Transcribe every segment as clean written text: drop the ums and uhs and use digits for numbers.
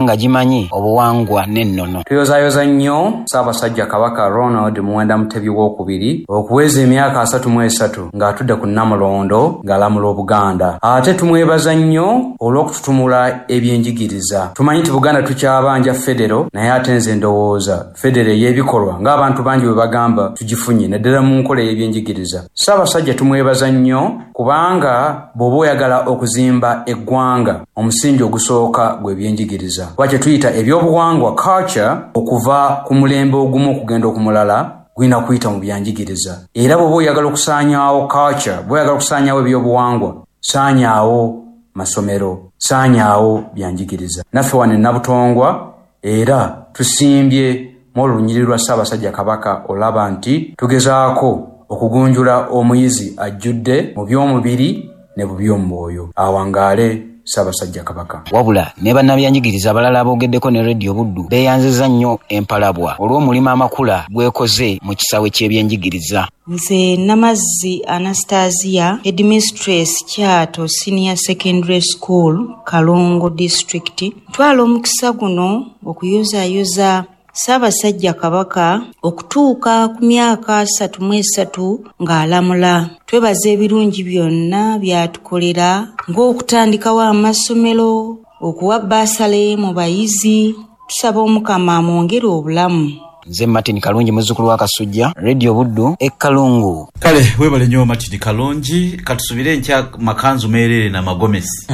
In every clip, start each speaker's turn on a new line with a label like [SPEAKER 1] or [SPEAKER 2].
[SPEAKER 1] Nga gimanyi obuwangwa n'ennono.
[SPEAKER 2] Tuyozayoza nnyo Ssaabasajja Kabaka Ronald Muwenda Mutebi Owookubiri okuweza emyaka 33 ng'atudde ku Nnamulondo ng'alamula Obuganda. Ate tumwebaza nnyo olw'okututumula ebyenjigiriza. Tumanyi nti Buganda tukyabanja federo, naye ate nze ndowooza federo ey'ebikolwa ng'abantu bangi bwe bagamba tugifunye naddala mu nkola ey'ebyenjigiriza. Ssaabasajja tumwebaza nnyo kubanga bw'oba oyagala okuzimba eggwanga, omusingi ogusooka gwe byenjigiriza. Kuba kye tuyita ebyobuwangwa, culture, okuva ku mulembe ogumu okugenda okumulala gulina kuyita mu byanjigiriza. Era bw'oba oyagala okusaanyaawo culture, bw'oba oyagala okusaanyaawo ebyobuwangwa, saanyaawo masomero, saanyaawo byanjigiriza. Naffe wano e Nabutongwa era tusimbye mu olunyiriri lwa Ssaabasajja Kabaka olaba nti tugezaako okugunjula omuyizi ajjudde mu by'omubiri ne mu by'omwoyo. Awangaale Ssaabasajja Kabaka.
[SPEAKER 1] Wabula ne bannabyanjigiriza abalala aboogeddeko ne Radio Buddu beeyanzizza nnyo Empalabwa olw'omulimu amakula gw'ekoze mu kisaawe ky'ebyenjigiriza.
[SPEAKER 3] Nze Namazzi Anastasia, Headmistress Kyato Senior Secondary School, Kalongo District. Ntwala omukisa guno okuyozaayoza Ssaabasajja Kabaka okutuuka ku myaka 33 ng'alamula. Twebaza ebirungi byonna by'atukolera ng'okutandikawo amasomero, okuwa bbaasale mu bayizi. Tusaba Omukama amwongere obulamu.
[SPEAKER 1] Nze Martin Kalungi muzzukulu wa Kasujja, Radio Buddu e Kalungu.
[SPEAKER 4] Kale webale nyo Martin Kalungi, katusubire enkya makanzu merere na magomesi.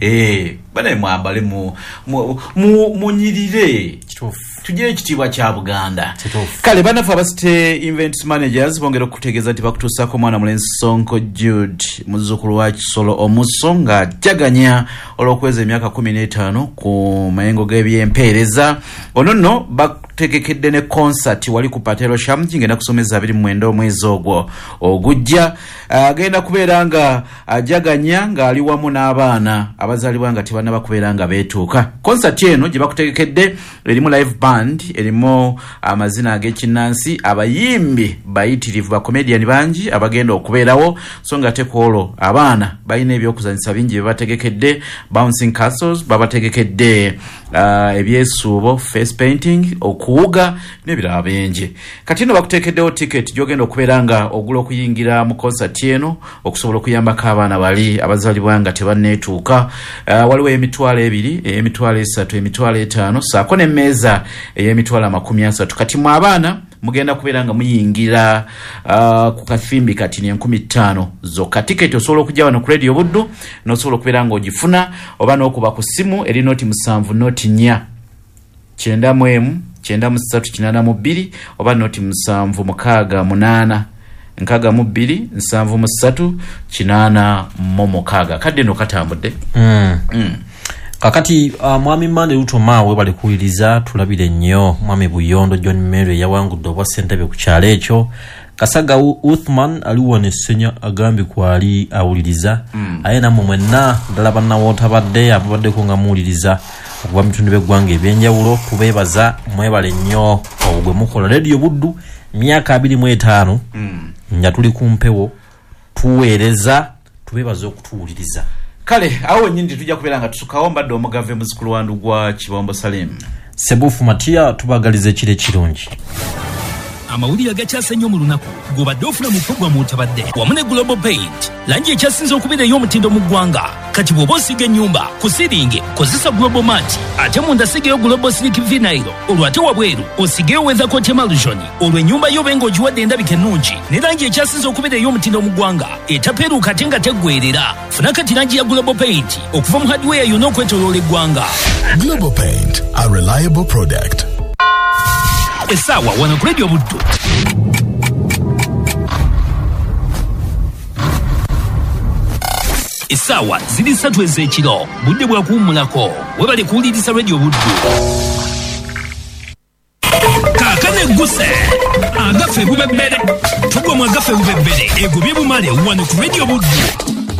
[SPEAKER 4] Eeh banaye mwambale mu mu munyirire.
[SPEAKER 5] Kituufu.
[SPEAKER 4] Tugye ekitiibwa kya Buganda.
[SPEAKER 5] Kituufu.
[SPEAKER 4] Kale banaffe aba City Events Managers bongera okukutegeeza nti bakutuusaku omwana mulenzi Ssonko Jude muzzukulu wa Kisolo Omuso nga ajaganya olw'okuweza emyaka 15 ku mayengo g'ebyempeereza. Ono nno bakutegekedde ne konsati wali ku Patelo Shamji ng'enda kusomeza 29 omwezi ogwo ogujja. Agenda kubeera nga ajaganya ng'ali wamu n'abaana abazaalibwa nga tebannaba kubeera nga beetuuka. Konsati eno gye bakutegekedde erimu live band, erimu amazina ag'ekinnansi, abayimbi bayitirivu, bakomediani bangi abagenda okubeerawo, so nga ate ku olwo abaana balina eby'okuzanyisa bingi bye bategekedde, bouncing castles, babategekedde ebyesuubo, face painting, okuwuga n'ebirala bingi. Kati nno bakuteekeddewo tiketi gy'ogenda okubeera nga ogula okuyingira mu konsati eno okusobola okuyambako abaana bali abazaalibwa nga tebanneetuuka. Waliwo ey'emitwalo ebiri, ey'emitwalo esatu, emitwalo etaano ssaako n'emmeeza ey'emitwalo 30. Kati mwe abaana mugenda kubeera nga muyingira ku kathimbi kati 5000 zokka. Tiketi osobola okujja wano ku Radio Buddu n'osobola okubeera nga ogifuna oba n'okuba ku ssimu eri 07 04 91 93 82 oba 07 68 62 73 86. Akadde nno katambudde.
[SPEAKER 5] Kakati Mwami Mande Ruto Mao webale kuwuliriza, tulabire nnyo Mwami Buyondo John Mary eyawangudde obwa ssentebe ku kyalo ekyo. Kasaga Uthman ali wano e Ssenya agambye kwali awuliriza. Aye nammwe mwenna ddala bannawootabadde ababaddeko nga muwuliriza okuva mu bitundu by'eggwanga eby'enjawulo tubeebaza, mwebale nnyo ogwo gwe mukola. Radio Buddu myaka 25 nga tuli ku mpewo tuweereza, tubeebaza okutuwuliriza.
[SPEAKER 4] Kale agho wenyini tituja kubeera nga tusukagho. Mbadde Omugave muzukulu wa Ndugwa Kibombo Salim.
[SPEAKER 5] Sebuufu Matia tubagaliza ekiro ekirungi.
[SPEAKER 6] Amawulire agakyase ennyo mu lunaku g'obadde ofuna mu pulogulaamu Otabadde wamu ne Global Paint, langi ekyasinze okubeera ey'omutindo mu ggwanga. Kati bw'oba osiiga ennyumba, ku siiringi kozesa Global Mat ate munda siigayo Global Slick Vinyl olwo ate wabweru osiigeyo Weathercoat Emulsion olwo ennyumba yo obe ng'ogiwadde endabika ennungi ne langi ekyasinze okubeera ey'omutindo mu ggwanga etapeeruuka ate nga teggweerera. Funa kati langi ya Global Paint okuva mu hardware yonna okwetoloola eggwanga.
[SPEAKER 7] Global Paint, a reliable product.
[SPEAKER 6] Essaawa wano ku Radio Buddu. Essaawa ziri ssatu ez'ekiro, budde bwa kuwummulako. Webale kuwuliriza Radio Buddu. Kaakano egguse agafa ebubebbere. Tugwa mu agafa ebubebbere egobye bumale wano ku Radio Buddu.